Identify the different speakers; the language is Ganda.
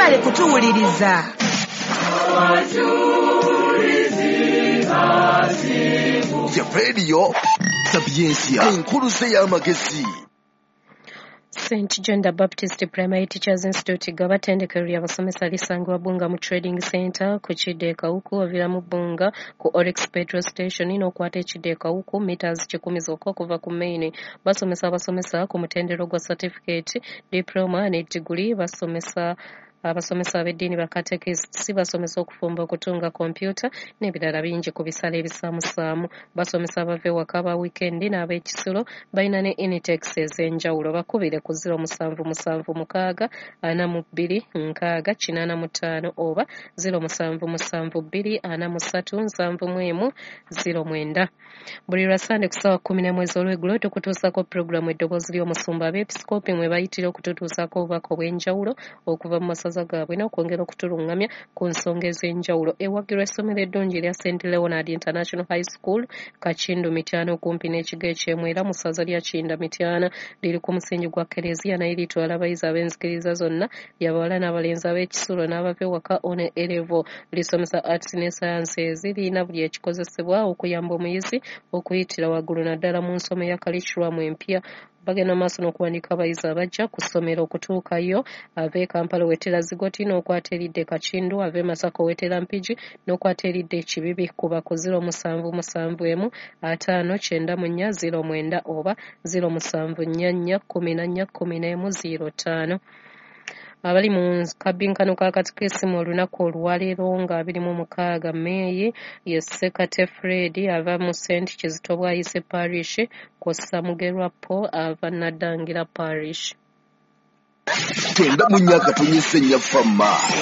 Speaker 1: Mwebale kutuwuliriza.
Speaker 2: Ya Radio Sapientia, enkuluze y'amagezi.
Speaker 3: St John the Baptist Primary Teachers Institute Gaba ttendekero ly'abasomesa lisangibwa Bbunga mu Trading Center ku kidda e Kawuku, oviramu Bbunga ku Oryx Petrol Station n'okwata ekidda e Kawuku meters 100 zokka okuva ku main. Basomesa abasomesa ku mutendera gwa certificate, diploma ne diguli. Basomesa abasomesa ab'eddiini, bakatekisiti, basomesa okufumba, okutunga, kompyuta n'ebirala bingi ku bisale ebisaamusaamu. Basomesa abava ewaka, aba wiikendi n'ab'ekisulo. Balina ne intakes ez'enjawulo. Bakubire ku 0776 42 60 85 oba 0772 43 71 09. Buli lwa Sande ku ssaawa 11 ez'olweggulo tukutuusako pulogulaamu Eddoboozi ly'Omusumba, abeepisikoopi mwe bayitira okututuusaako obubaka obw'enjawulo okuva mu masaza gaabwe n'okwongera okutulungamya ku nsonga ez'enjawulo. Ewagirwa essomero eddungi erya St Leonard International High School, Kakindu, Mityana, okumpi n'ekigo eky'Emwera mu ssaza lya Kinda, Mityana. Liri ku musingi gwa Kereziya naye litwala abayizi ab'enzikiriza zonna, lyabawala n'abalenzi, ab'ekisulo n'abava ewaka, O ne A level. Lisomesa arts ne sciences. Lirina buli ekikozesebwa okuyamba omuyizi okuyitira waggulu, naddala mu nsoma eya curriculum empya. Bagenda maaso n'okuwandiika abayizi abajja ku ssomero. Okutuukayo, ava e Kampala owetera Zigoti n'okwata eridda e Kakindu, ava e Masaka owetera Mpigi n'okwata eridda e Kibibi. Kuba ku 0771 594 09 oba 0744 14 11 05. Abali mu kabinkano ka katikisimu olunaku olwaleero nga 26 Meeyi ye Ssekate Fred ava mu St Kizito Bwayise Parish, kw'ossa Mugerwa Paul ava Naddangira Parish.
Speaker 2: 94.4 Fama.